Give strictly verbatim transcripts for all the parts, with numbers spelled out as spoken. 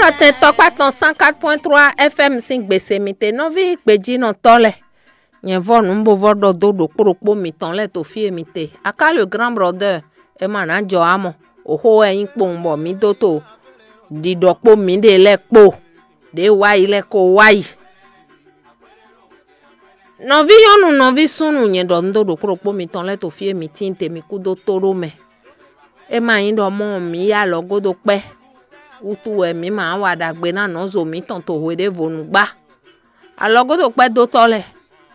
Xɔ́ntɔn tɔkpá tɔn cent quatre point trois F M sín gbèsè mi te, nɔví gbejínɔtɔ́ lɛ́ɛ. Nyɛ vɔ́ nǔ bo vɔ́ ɖɔ dó ɖokpó ɖokpó mitɔn lɛ́ɛ to fí e mi te. Aká le grand brother, é ma nǎ jɔ ǎ mɔ. Oxó wɛ nyí kpowun bɔ mǐ dó to ɖiɖɔ kpó mǐɖée lɛ́ɛ kpó. Ɖě wá yi lɛ́ɛ ko wá yi. Nɔví nyɔ́nu, nɔví súnnu, nyɛ ɖɔ nǔ dó ɖokpó ɖokpó mitɔn lɛ́ɛ to fí e mi tíin te, mi kú dó tó ɖó mɛ. É ma nyí ɖɔ mɔ̌ mǐ yá alɔgódokpɛ́ wútu wɛ mǐ ma wa ɖagbe ná nɔzo mǐtɔn to hweɖěvonu gbá. Alɔgódokpɛ́ dótɔ́ lɛ́ɛ,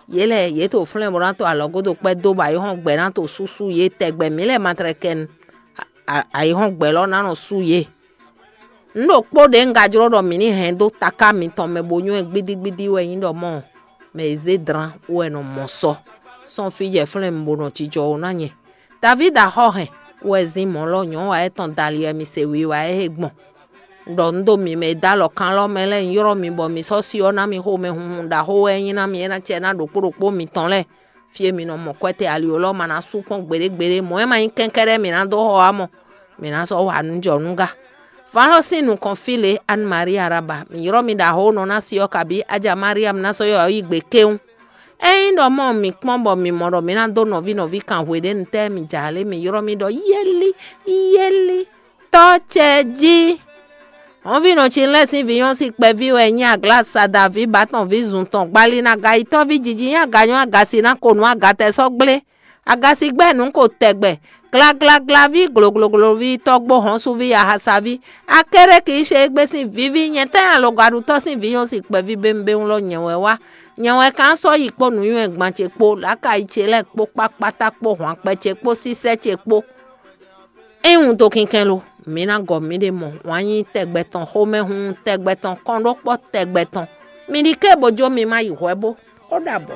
yě lɛ́ɛ yě to flɛ́n bó ná to alɔgódokpɛ́ dó bɔ ayǐhɔ́ngbe ná to súsú yě tɛgbɛ mǐ lɛ́ɛ ma tlɛ kɛ nu. Ayǐhɔ́ngbe lɔ ná nɔ sú yě. Nǔ ɖokpó ɖě un ka jló ɖɔ mǐ ní hɛn dó taká mitɔn mɛ bó nywɛ́ gbídígbídí wɛ nyí ɖɔ mɔ̌ mɛ e zé dlán wɛ nɔ mɔ sɔ sɔ́ fí jɛ flɛ́n bó nɔ jijɔ ó ná nyɛ. Davídi axɔ́ hɛn wɛ zín mɔ̌ lɔ nyɔ̌ wa étɔn dali wɛ mi se wiwa é he gbɔn. Un ɖɔ nǔ dó mi mɛ e dó alɔ kan lɔ mɛ lɛ́ɛ, un ylɔ́ mi bɔ mi sɔ́ si ɔ́ ná mi xomɛ hunhun ɖaxó wɛ é nyí ná mi é ná cɛ ná ɖokpó ɖokpó mitɔn lɛ́ɛ. Fí e mi nɔ mɔ kwɛ́ te ali ó lɔ ma ná sú kpɔ́n gbeɖé gbeɖé, mɔ̌ e ma nyí kɛ́nkɛ́ɖɛ́ mi ná dó xɔ wá mɔ, mi ná sɔ́ wa nǔ jɔ nú gá. Vǎn lɔ sín nukɔn fí lě Anne Marie Araba, mi ylɔ́ mi ɖaxó nɔ ná si ɔ́ kabí Aja Mariam ná sɔ́ ylɔ́ yi gbe kéwún. Ényí ɖɔ mɔ mi kpɔ́n bɔ mi mɔ ɖɔ mi ná dó nɔví nɔví kan hweɖěnu tɛ́ mi ja lě, mi ylɔ́ mi ɖɔ yéli yéli tɔ́ ce jí. Hɔnvínɔ ce lɛ́ɛ sín vǐ nyɔ́ sín kpɛví wɛ nyí aglá sadaví bǎtɔnví zun tɔn gbali ná gayitɔ́ví jiji nyí aganyɔ́ agasi ná ko nǔ agatɛ sɔ́ gblé. Agasi gbɛ́ nǔ ko tɛgbɛ, glaglaglaví gloglogloví tɔ́gbó hɔnsuví ahasaví. Akéré kì í ṣe égbé sín vǐví nyɛ tɛ́ alɔgɔaɖutɔ́ sín vǐ nyɔ́ sín kpɛví bémubému lɔ nyɛ wɛ wá. Nyɛ wɛ kan sɔ́ yi kpó nǔnywɛ́ gban ce kpó lǎkayi ce lɛ́ɛ kpó kpákpátá kpó hwankpɛ ce kpó sísɛ́ ce kpó. É nyí wuntokínkɛ́n lo, mǐ ná gɔ mǐɖée mɔ wǎn nyí tɛgbɛ tɔn, xomɛhunhun tɛgbɛ tɔn, kɔnɖókpɔ́ tɛgbɛ tɔn. Mi ɖi ké bó jó mi ma yi hwɛ bó. Ó ɖabɔ.